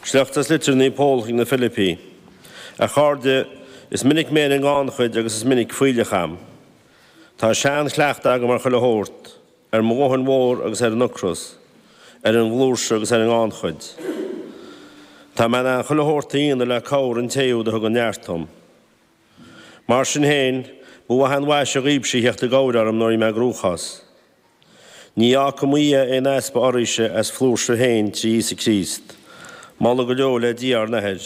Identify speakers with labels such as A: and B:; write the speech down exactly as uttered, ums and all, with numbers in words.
A: Sliocht as litir Naomh Pól chuig na Filipigh. A chairde, is minic mé ar an ngannchuid agus is minic fuílleach a'm. Tá seanchleachtadh agam ar chuile shórt, ar mo dhóthain mhór agus ar an ocras, ar an bhflúirse agus ar an ngannchuid. Tá mé in ann chuile shórt a dhéanamh le cabhair an té úd a thugann neart dom. Mar sin féin, ba mhaith an mhaise dhaoibhse theacht i gcabhair orm nuair a bhí mé i gcruachás. Ní fhágfaidh mo Dhia aon easpa oraibhse as flúirse féin trí Íosa Críost. Moladh go deo le Dia ár nAthair.